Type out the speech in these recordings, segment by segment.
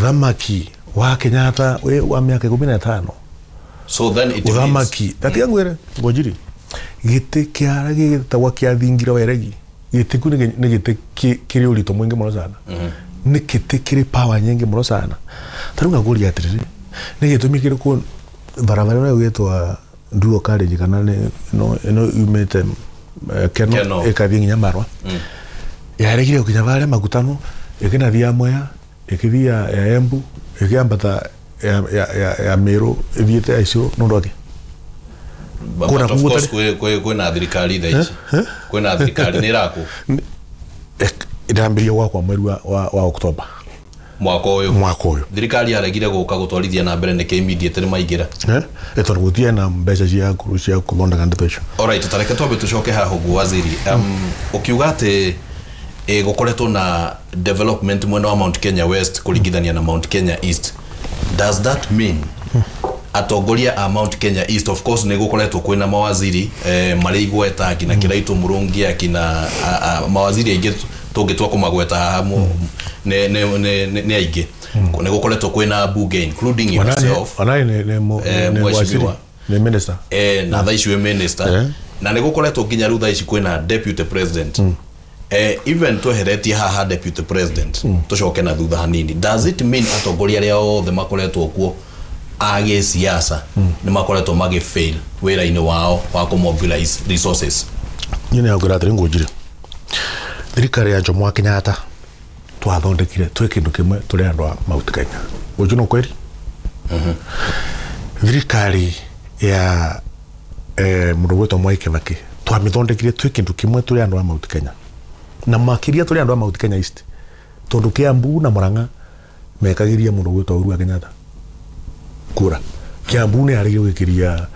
Uthamaki wa Kenyatta we wa miaka 15. So then it uthamaki tatiga ngwire ngojiri giti kia gitagwa kia thingira weregi giti ku ni giti kiri urito mwingi muno sana. Ni giti kiri power nyingi muno sana. Taru ngaguria atiriri ni gitumi kiri ku barabara ira gwitwa Duo College kana ni no ino yumite Keno ikathie nginya Marwa. Yaregire gukinya baria makutano ikinathia Mwea ikithia ya Embu ikiambata ya Meru ithiete icio nundu ake. But of course kwina thirikari thaa ici kwina thirikari ni iraku irambirie gwakwa mweri wa October mwaka uyu thirikari yaregire guka gutwarithia na mbere niki immediate ni maingira tondu gutie na mbeca cia cia kuthondeka ndeto icio. Alright, tareke twambe tucoke haha uguo waziri. Ukiuga ati gukoretwo na development mwena wa Mount Kenya West kuringithania na Mount Kenya East, does that mean atongoria a Mount Kenya East, of course ni gukoretwo kwina mawaziri mari igweta akina Kiraitu Murungi akina mawaziri aingi tungitwa kumagweta haha ni aingi, ni gukoretwo kwina bunge including yourself ni waziri ni minister na thaa ici wi minister na ni gukoretwo nginya riu thaa ici kwina deputy president. Even tweheretie haha deputy president tucoke na thutha hanini, does it mean atongoria aria othe makoretwo kuo a gĩsiasa nĩ makoretwo magĩ fail wĩra-inĩ wao wa kũ mobilize resources? Niĩ nĩ ngwĩra atĩrĩ ngũnjire thirikari ya Jomo Kenyatta twathondekire twĩ kĩndũ kĩmwe tũrĩ andũ a Mount Kenya. Ũcio no kweri? Thirikari ya mũndũ gwĩtwo Mwai Kibaki twamĩthondekire twĩ kĩndũ kĩmwe tũrĩ andũ a Mount Kenya, na makĩria tũrĩ andũ a Mount Kenya East, tondũ Kiambu na Murang'a mekagĩria mũndũ gwĩtwo Uhuru wa Kenyatta kura. Kiambu nĩ arĩgire gwĩkĩria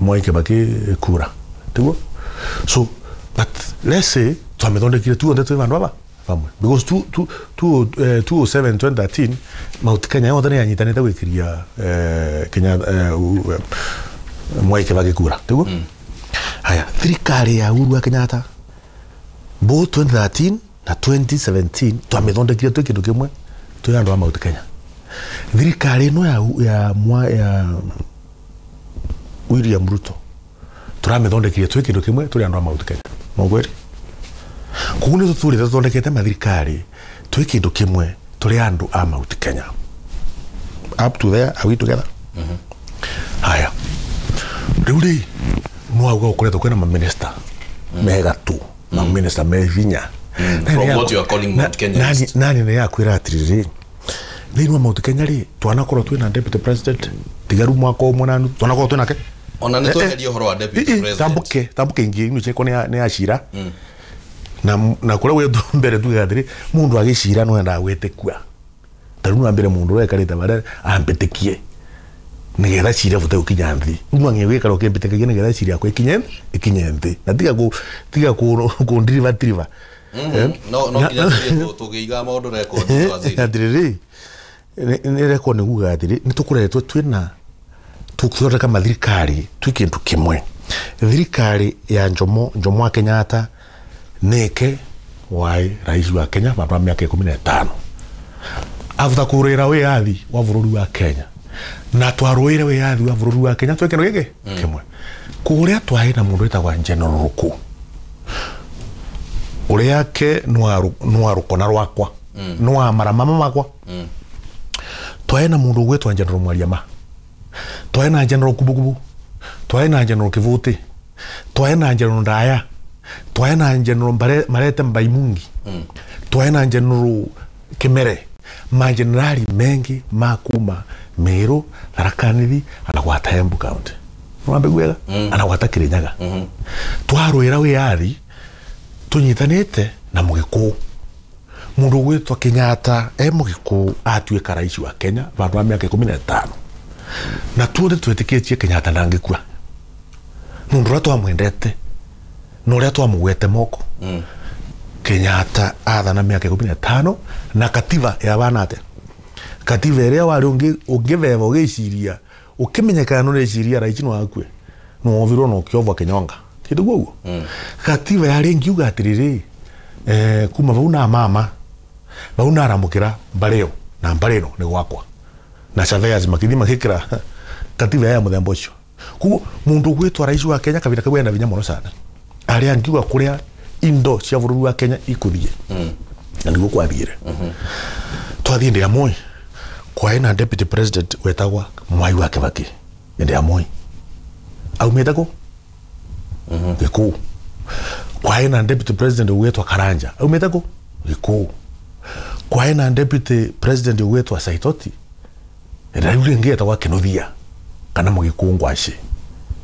Mwai Kibaki kura tiguo. So but let's say twamĩthondekire tuothe twĩ vandu ava vamwe because 2007 2013 Mount Kenya yothe nĩ yanyitanĩte gwĩkĩria Kenya Mwai Kibaki kura tiguo. Haya, thirikari ya Uhuru wa Kenyatta both 2013 na 2017 twamĩthondekire twĩ kĩndũ kĩmwe twĩ andũ a Mount Kenya. Thirikari ĩno ya William Ruto tũramĩthondekire twĩ kĩndũ kĩmwe tũrĩ andũ a Mount Kenya. Mogweri koguo nĩ tũtũrĩte tũthondekete mathirikari twĩ kĩndũ kĩmwe tũrĩ andũ a Mount Kenya. Up to there, are we together? Haya, rĩu rĩ no auga gũkoretwo kwĩna maminista mega tu, maminista me hinya. From what you are calling Mount Kenya East. Nani nĩ yakwĩra atĩrĩrĩ thĩinĩ wa Mount Kenya rĩ twanakorwo twĩna deputy president tigaru mwaka ũmwe na nuthu twanakorwo twĩnake ona nĩ tweherie ũhoro wa deputy president tambuke ingĩ inu ciakwa nĩ acira na kũrĩa gwĩtwo mbere tuge atĩrĩ mũndũ agĩcira no endaga gwĩtĩkua ta rĩu no ambere mũndũ ũrĩa aikarĩte barĩa ambĩtĩkie nĩgetha cira bote gũkinya nthĩ. Rĩu no nginya gũikara ũkĩmbĩtĩkagia nĩgetha cira yakwa ikinye nthĩ na tiga kũndiriba tiriba. No no nginya tũgĩiga maũndũ record waziri atĩrĩrĩ nĩ record nĩ kuga atĩrĩ nĩ tũkoretwo twĩna tũkĩthondeka mathirikari twĩ kĩndũ kĩmwe. Thirikari ya Jomo wa Kenyatta nĩke wai rais wa Kenya vandu va miaka 15 after kũrũĩra wĩyathi wa bũrũri wa Kenya na twarũĩre wĩyathi wa bũrũri wa Kenya twĩ kĩndũ gĩkĩ kĩmwe. Kũrĩa twarĩ na mũndũ wĩtagwa General Ruku ũrĩa ke nwa rũkona rwakwa nwa maramama makwa. Twarĩ na mũndũ ũgwĩtwo General Mwariama, twarĩ na General Kubukubu, twarĩ na General Kivuti, twarĩ na General Ndaya, twarĩ na General Marete Mbaimungi, twarĩ na General Kimere, majenerali mengi makuma Meru, Tharaka Nithi, anagwata Embu County. Nwambe gwega anagwata Kirinyaga. Twarũĩra wĩyathi tũnyitanĩte na Mũgĩkũyũ. Mũndũ ũgwĩtwo Kenyatta e Mũgĩkũyũ atuĩka rais wa Kenya vandu va miaka 15 na tuothe twĩtĩkĩtie Kenyatta ndangĩkua nũndũ ũrĩa twamwendete na ũrĩa twamũgwete moko. Kenyatta athana miaka 15 na katiba ya bana atĩa katiba ĩrĩa warĩ ũngĩveva ũgĩciria ũkĩmenyekana nĩ ũreciria raici no akue no wovirwo na ũkĩovwo kĩnyonga kĩndũ guo katiba yarĩ ngiuga atĩrĩrĩ kuma vau na mama vau na aramũkĩra mbarĩ ĩyo na mbari ino ni gwakwa na surveyors makithi magikira katiba ya muthemba ucio. Koguo mundu gwitwa rais wa Kenya kabira kau ena vinya muno sana aria angiuga kuria indo cia bururi wa Kenya ikuthie na niguo kwathire. Twathie ndi ya Moi kwaĩ na deputy president wetagwa Mwai wa Kibaki ndi ya Moi aumite ku Gikuyu. Kwaĩ na deputy president wetwa Karanja aumite ku Gikuyu. Kwaĩ na deputy president wetwa Saitoti riu ringi etagwa Kinuthia kana Mugikuyu ngwaci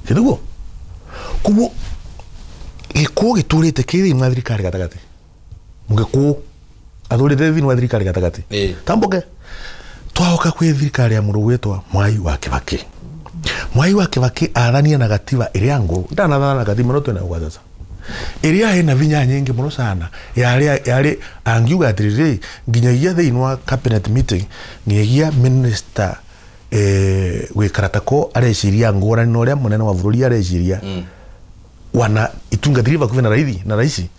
githuguo. Koguo Gikuyu giturite ki thiini wa thirikari gatagati, Mugikuyu athurite thiini wa thirikari gatagati. Tambuke twaoka kwi thirikari ya mundu gwitwa Mwai wa Kibaki. Mwai wa Kibaki athania na gatiba iria nguru ndanathana na gatiba no twina gwa sasa iria ina vinya nyingi muno sana yari angiuga atiriri nginyagia thiini wa cabinet meeting nginyagia minister gwikara tako areciria ngurani na uria munene wa bururi areciria wana itungatiri bakuvi na raithi na raisi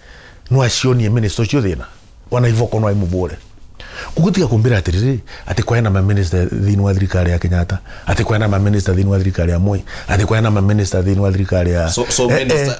no acionie minister ucio thina wana ivoko no imubure. Kugutiga kumbira atiriri ati kwena ma minister thiini wa thirikari ya Kenyatta, ati kwena ma minister thiini wa thirikari ya Moi, ati kwena ma minister thiini wa thirikari ya so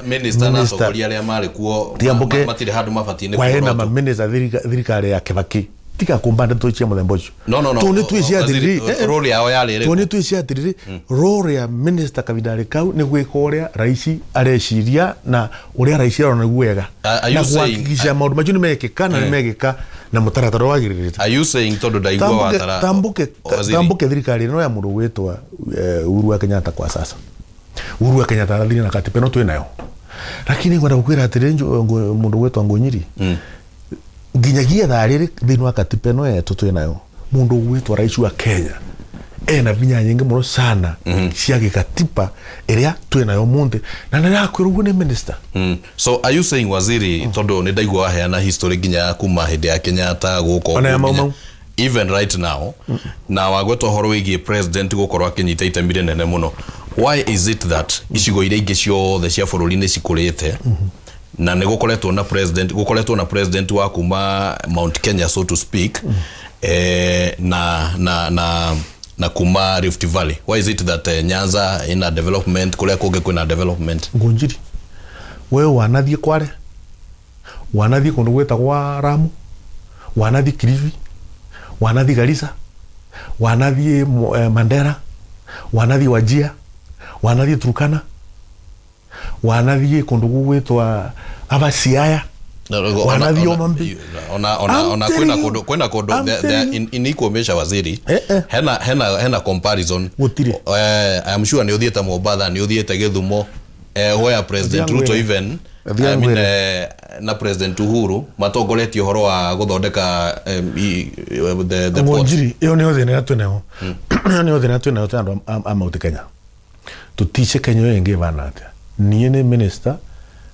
minister na atongoria aria mari kuo matire handu mabatie ni kwena ma minister thirikari ya Kibaki. Tiga kumba ndeto chia muthemba ucio. No Toni twicia atiriri role yao yari iriku? Toni twicia atiriri role ya minister kabindari kau ni gwika uria raisi areciria na uria raisi arona niguo wega na kuhakikisha maundu macio ni mekika na ni mekika na mutaratara wagirite. Are you saying tondu ndaigua watara tambuke thirikari ino ya mundu gwitwa Uhuru wa Kenyatta kwa sasa. Uhuru wa Kenyatta arathire na katiba no twinayo, lakini ngwenda gukwira atiriri mundu gwitwa Ngunyiri nginyagia thaa riri thiini wa katiba ino yetu twinayo mundu gwitwa rais wa Kenya ena vinya nyingi muno sana cia gikatiba iria twinayo munthi na nirakwirwo uguo ni minister. So are you saying waziri tondu ni ndaigua waheana history nginya kuma hindi ya Kenyatta guko even right now na wagwetwo horo wigie president gukorwo akinyita itemi rinene muno, why is it that icigo iria ingi ciothe cia bururi ni cikurite na nä gåkoretwo na president gåkoretwo na president wa kuma Mount Kenya so to speak na kuma Rift Valley, why is it that Nyanza ina development kuria kungi kwina development? Ngunjiri we wanathie Kware, wanathie kundu gwitagwa Ramu, wanathie Kilifi, wanathie Garissa, wanathie Mandera, wanathie Wajia, wanathie Turkana, wanathie kundu gwitwa aba Siaya, wanathie Omambi. Ona kwina kundu in equal measure waziri hena comparison. I am sure ni uthiete Mombatha, ni uthiete Githumo, where President Ruto even I mean, na President Uhuru matongoretie uhoro wa guthondeka the port. Iyo niyo thina twinayo. Iyo niyo thina twinayo ta andu a Mount Kenya. Tutice Kenya iyo ingi ivana atia. Niĩ nĩ minister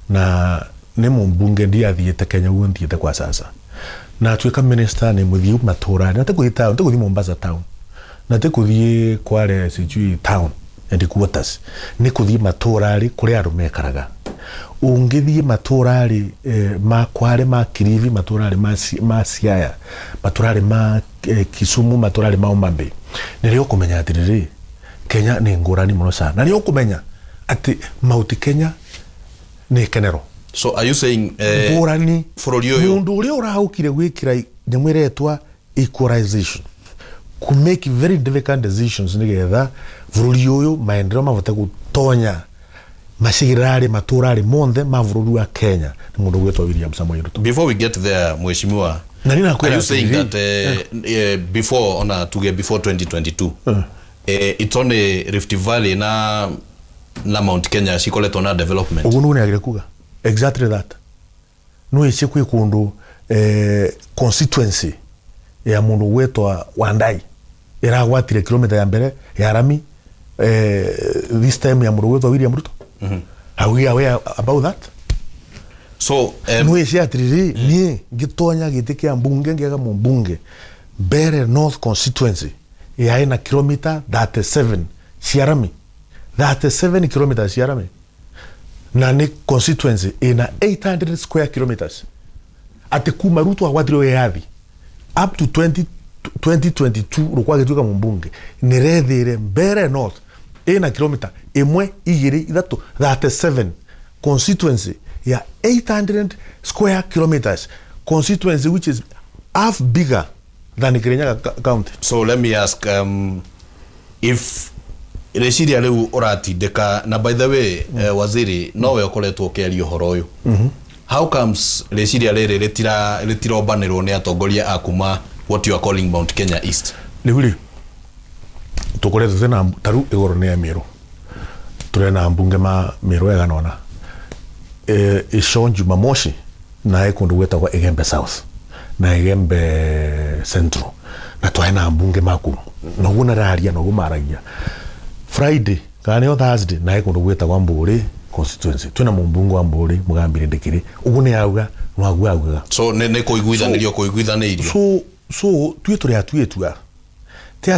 na nĩ mũmbunge ndiathiĩte Kenya ũguo nthiĩte kwa sasa. Na atuĩka minister nĩ mũthiĩ matũra, na tikuthi town, tikuthi Mombasa town, na tikuthi Kware sijui town and quarters, nĩ kũthiĩ matũra rĩ kũrĩa andũ mekaraga. Ũngĩthiĩ matũra rĩ ma Kware, ma Kilifi, matũra rĩ ma Siaya, matũra rĩ ma Kisumu, matũra rĩ ma Homa Bay, nĩrĩo ũkũmenya atĩrĩrĩ Kenya nĩ ngũrani mũno sana, na nĩ ũkũmenya ati Mount Kenya ni kenero. So are you saying ngurani bururi uyu mundu uria uraukire gwikira nyamu iretwa equalization ku make very difficult decisions nigetha bururi uyu maendeleo mavote gutonya macigirari maturari monthe ma bururi wa Kenya ni mundu gwitwa William Samoei Ruto. Before we get there mheshimiwa, na nina are you saying that before ona tuge before 2022 it's only Rift Valley na Mount Kenya cikoretwo na development? Uguo niguo niagire kuga exactly that. No ici kwi kundu constituency ya mundu gwetwa Wandai iragwatire kilomita ya mbere ya rami this time ya mundu gwetwa William Ruto. Are we aware about that? So no ici atiriri nie ngitonya giti kia mbunge ngiaga mumbunge Mbere North constituency yae na kilomita 37 cia rami, 37 kilometers cia rami, na ni constituency ina 800 square kilometers. Ati kuma Ruto agwatire wiyathi up to 2022 Ruku agĩtuĩka mũmbunge, nĩrethire Mbeere North ĩna kilomita 1 2 3 37 constituency ya 800 square kilometers, constituency which is half bigger than Kirinyaga County. So let me ask, if rĩciria rĩu ũratindĩka, na by the way, waziri, nowe ũkoretwo ũkĩaria ũhoro ũyũ, how comes rĩciria rĩrĩ rĩtirombanĩrwo nĩ atongoria a kuma what you are calling Mount Kenya East? Rĩu rĩ, tũkoretwo twĩna taru igũrũ nĩ ya Mĩrũ, tũrĩ na mbunge ma Mĩrũ ĩgana ico Jumamosi nae kũndũ gwĩtagwo Igembe South na Igembe Central, na twae na mbunge maku noguo nararia noguo maragia. Friday kana nĩyo Thursday nae kũndũ gwĩtagwo Mbũrĩ constituency, twĩna mũmbunge wa Mbũrĩ Mũgambire Ndĩkĩrĩ, ũguo nĩ auga noguo augaga. So nĩ kũiguithanĩrio kũiguithanĩirio. So tuĩ tũrĩ atuĩtua ti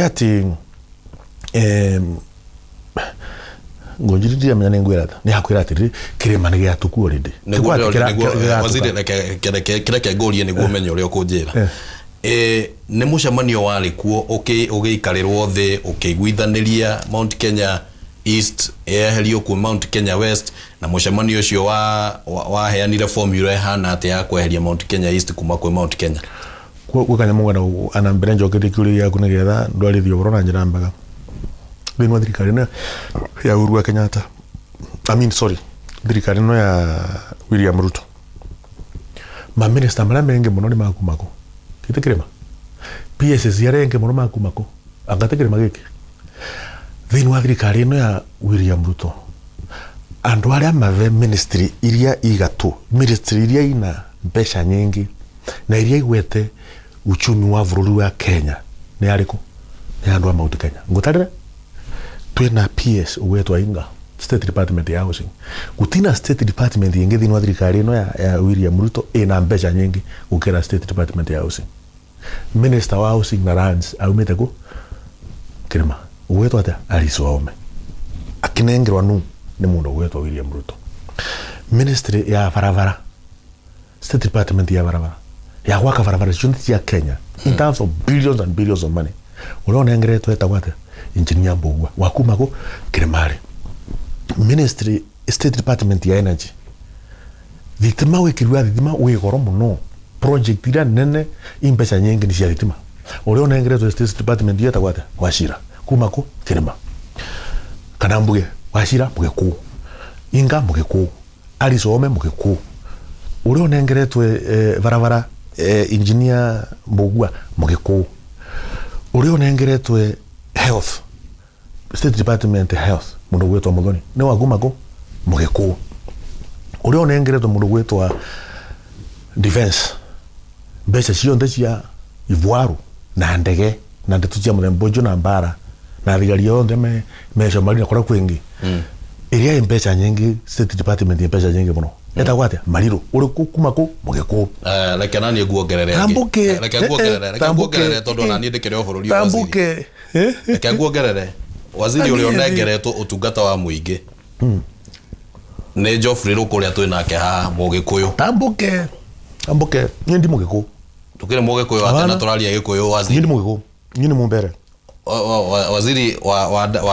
atĩ ngonjiri ndiramenya nĩ ngwĩra ta nĩ hakwĩra atĩrĩrĩ, kĩrĩma nĩ gĩatũku already. Waziri, reke ngũrie nĩguo ũmenye ũrĩa ũkũnjĩra. Nĩ mũcemanio warĩ kuo ũgĩikarĩrwo thĩ ũkĩiguithanĩria Mount Kenya East yeherio kuo Mount Kenya West, na mũcemanio ũcio waheanire formula ĩhana atĩa ya kweheria Mount Kenya East kuma kwĩ Mount Kenya? Gwĩ kanyamũ ngwenda ana mbere njokerie kĩũria gĩaku nĩgetha ndwarithie ũhoro na njĩra mbega. Thĩinĩ wa thirikari ĩno ya Uhuru wa Kenyatta, I mean sorry, thirikari ĩno ya William Ruto, maminista marĩa mengĩ mũno nĩ makuma kũ? Gĩtĩ kĩrĩma. PSS arĩa engĩ mũno makuma kũ? Anga ti kĩrĩma gĩkĩ. Thĩinĩ wa thirikari ĩno ya William Ruto, andũ arĩa mathe ministry iria igatũ, ministry iria ina mbeca nyingĩ na iria igwete uchumi wa bũrũri wa Kenya nĩ arĩkũ? Nĩ andũ a Mount Kenya. Ngũtarĩre twĩna PS ũgwetwo Inga, State Department ya Housing. Gũtina State Department ĩngĩ thĩinĩ wa thirikari ĩno ya William Ruto ĩna mbeca nyingĩ gũkĩra State Department ya Housing. Minister wa Housing na Lands aumĩte kũ? Kĩrĩma. Ũgwetwo atĩa? Alice Wahome. Akĩnengerwa nũ? Nĩ mũndũ ũgwetwo William Ruto. Ministry ya barabara, State Department ya barabara, ya gwaka barabara ciothe cia Kenya in terms of billions and billions of money, ũrĩa ũnengeretwo etagwo atĩa? Engineer Mbugua wa kuma kũ? Kĩrĩmarĩ. Ministry, State Department ya Energy, thitima wĩkĩri wa thitima wĩ goro mũno, project iria nene i mbeca nyingĩ nĩ cia thitima, ũrĩa ũnengeretwo State Department yetagwo atĩa? Wachira kuma kũ? Kĩrĩma. Kana mbuge Wachira Mũgĩkũyũ, Inga Mũgĩkũyũ, Alice Wahome Mũgĩkũyũ, ũrĩa ũnengeretwo barabara engineer Mbugua Mũgĩkũyũ, ũrĩa ũnengeretwo health, State Department Health, mũndũ gwĩtwo Muthoni nĩ wa kuma kũ? Mũgĩkũyũ. Ũrĩa ũnengeretwo mũndũ gwĩtwo defense, mbeca ciothe cia ivoaru na ndege na ndeto cia mũthemba ũcio na mbara na thigari othe me Somalia na kũrĩa kwĩngĩ, ĩrĩa ĩ mbeca nyingĩ, State Department ĩ mbeca nyingĩ mũno, etagwo atĩa? Mariru. Ũrĩkũ kuma kũ? Mũgĩkũyũ. Reke naniĩ nguongerere angĩ. Tambuke. Reke nguongerere, reke nguongerere tondũ ona niĩ ndĩkĩrĩ o bũrũri waziri. Tambuke. Reke nguongerere waziri ũrĩa ũnengeretwo ũtungata wa mũingĩ nĩ Geoffrey Ruku ũrĩa twĩ nake haha, Mũgĩkũyũ. Tambuke, tambuke, niĩ ndi Mũgĩkũyũ. Tũkĩrĩ Mũgĩkũyũ atĩa na tũraria Gĩkũyũ, Niĩ waziri? ndi Mũgĩkũyũ, niĩ nĩ Mũmbere. Waziri wa